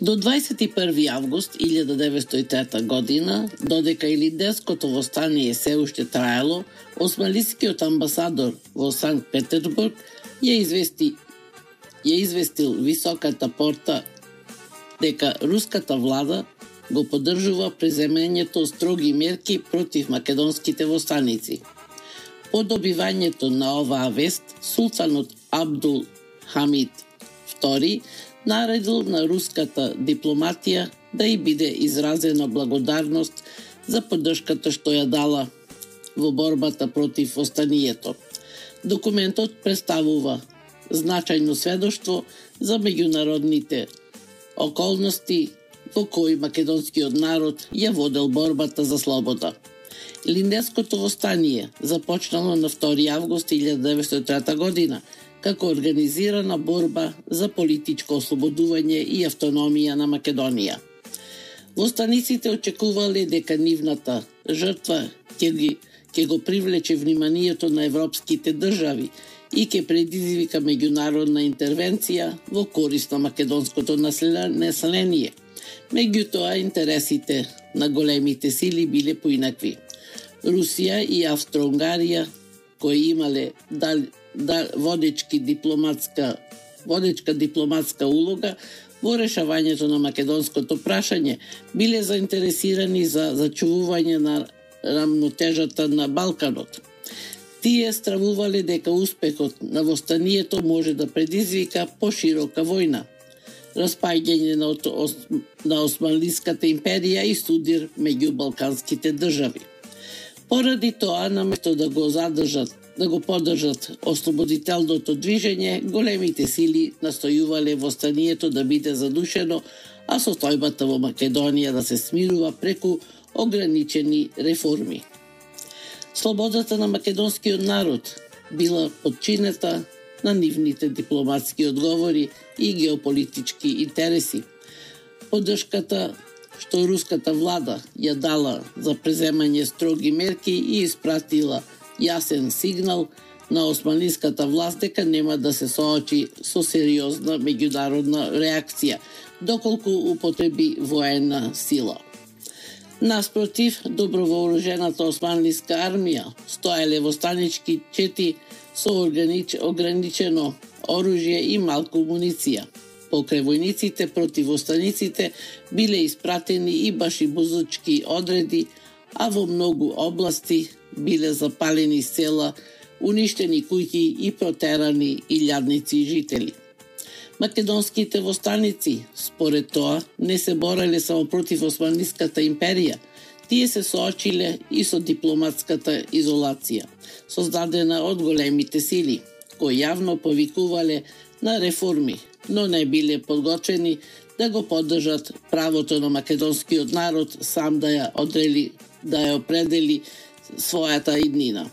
До 21. август 1903 година, додека Илинденското востание се уште траело, османлискиот амбасадор во Санкт Петербург ја известил високата порта дека руската влада го поддржува преземањето строги мерки против македонските востаници. По добивањето на оваа вест, султанот Абдул Хамид II наредил на руската дипломатија да и биде изразена благодарност за поддршката што ја дала во борбата против востанието. Документот представува значајно сведоштво за меѓународните околности во кои македонскиот народ ја водел борбата за слобода. Илинденското востание започнало на 2 август 1903 година како организирана борба за политичко ослободување и автономија на Македонија. Востаниците очекувале дека нивната жртва ќе го привлече вниманието на европските држави и ќе предизвика меѓународна интервенција во корист на македонското население. Меѓутоа, интересите на големите сили биле поинакви. Русија и Австро-Унгарија, кои имале водечка дипломатска улога во решавањето на македонското прашање, биле заинтересирани за зачувување на рамнотежата на Балканот. Тие стравувале дека успехот на востанието може да предизвика поширока војна, распаѓање на Османлиската империја и судир меѓу балканските држави. Поради тоа, наместо да го поддржат ослободителното движење, големите сили настојувале востанието да биде задушено, а состојбата во Македонија да се смирува преку ограничени реформи. Слободата на македонскиот народ била подчинета на нивните дипломатски одговори и геополитички интереси. Поддршката што руската влада ја дала за преземање строги мерки и испратила јасен сигнал на османлиската власт дека нема да се соочи со сериозна меѓународна реакција, доколку употреби воена сила. Наспротив, добровооружената османлиска армија стоеле востанички чети со ограничено оружје и малку муниција. Покрај војниците против востаниците биле испратени и башибузучки одреди, а во многу области биле запалени села, уништени куќи и протерани илјадници жители. Македонските востаници, според тоа, не се бореле само против Османлиската империја, тие се соочиле и со дипломатската изолација, создадена од големите сили, кои јавно повикувале на реформи, но не биле подготвени да го поддржат правото на македонскиот народ сам да ја определи својата иднина.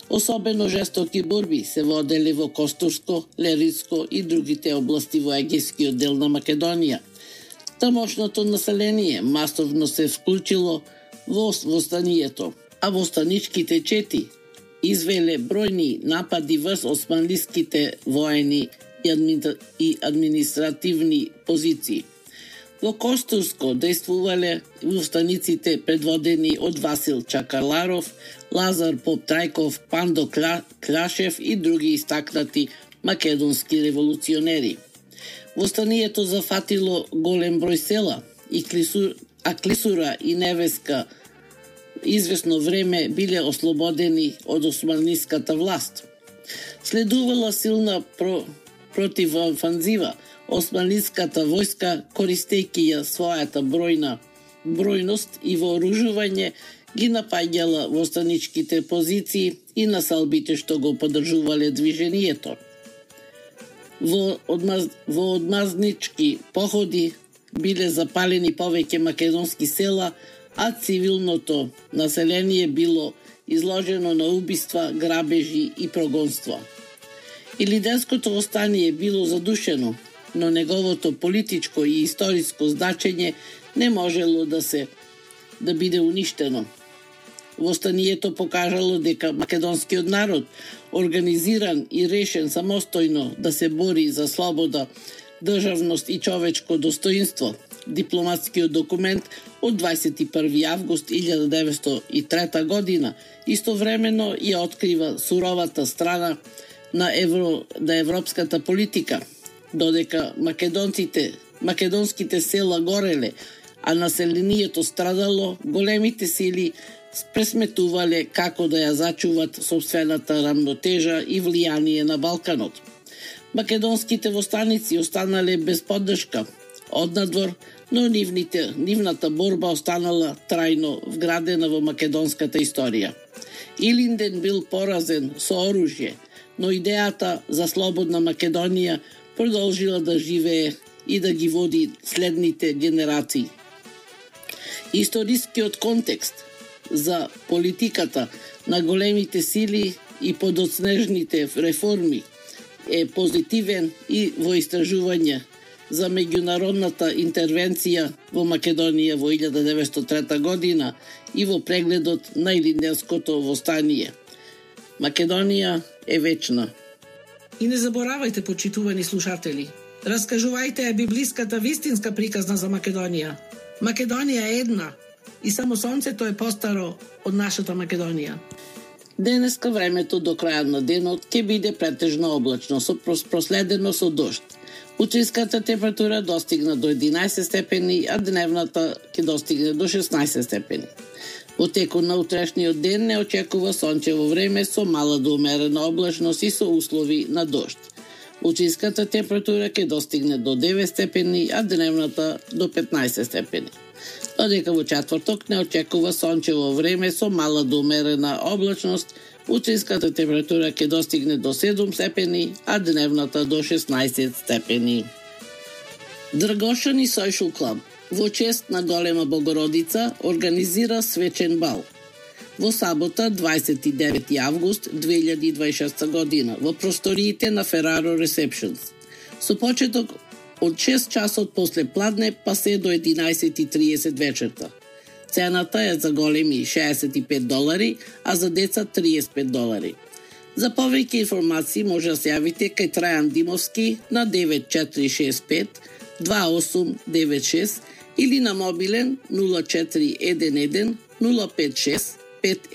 Особено жестоки борби се воделе во Костурско, Лерицко и другите области во егејскиот дел на Македонија. Тамошното население масовно се вклучило во востанието, а востаничките чети извеле бројни напади врз османлиските воени и административни позиции. Во Костурско действувале востаниците предводени од Васил Чакаларов, Лазар Поп-Трајков, Пандо Клашев и други истакнати македонски револуционери. Востанието зафатило голем број села, а Клисура и Невеска извесно време биле ослободени од османлиската власт. Следувала силна противофанзива. Османлиската војска, користејќи ја својата бројност и вооружување, ги напаѓала востаничките позиции и насалбите што го поддржувале движењето. Во одмазнички походи биле запалени повеќе македонски села, а цивилното население било изложено на убиства, грабежи и прогонства. Илинденското востание било задушено, но неговото политичко и историско значење не можело да биде уништено. Востанието покажало дека македонскиот народ, организиран и решен самостојно да се бори за слобода државност и човечко достоинство, дипломатскиот документ од 21. август 1903 година, истовремено ја открива суровата страна на европската политика, додека македонските села гореле, а населението страдало, големите сили пресметувале како да ја зачуват собствената рамнотежа и влијание на Балканот. Македонските востаници останале без поддршка однадвор, но нивната борба останала трајно вградена во македонската историја. Илинден бил поразен со оружје, но идејата за слободна Македонија продолжила да живее и да ги води следните генерации. Историскиот контекст за политиката на големите сили и подоцнежните реформи е позитивен и во истражување за меѓународната интервенција во Македонија во 1903 година и во прегледот на Илинденското востание. Македонија е вечна. И не заборавајте, почитувани слушатели, раскажувајте ја библиската вистинска приказна за Македонија. Македонија е една и само сонцето е постаро од нашата Македонија. Денеска времето до крајот на денот ќе биде претежно облачно, проследено со дожд. Утринската температура достигна до 11 степени, а дневната ќе достигне до 16 степени. Во текот на утрешниот ден не очекува сончево време со мала до умерена облачност и со услови на дожд. Утринската температура ќе достигне до 9 степени, а дневната до 15 степени. Додека во четврток не очекува сончево време со мала до умерена облачност, утринската температура ќе достигне до 7 степени, а дневната до 16 степени. Драгошани Social Club во чест на Голема Богородица организира свечен бал во сабота 29. август 2026 година во просториите на Ferraro Receptions. Со почеток од 6 часот после пладне па се до 11:30 вечерта. Цената е за големи $65, а за деца $35. За повеќе информации може да се јавите кај Трајан Димовски на 9465 2896 или на мобилен 0411 056 5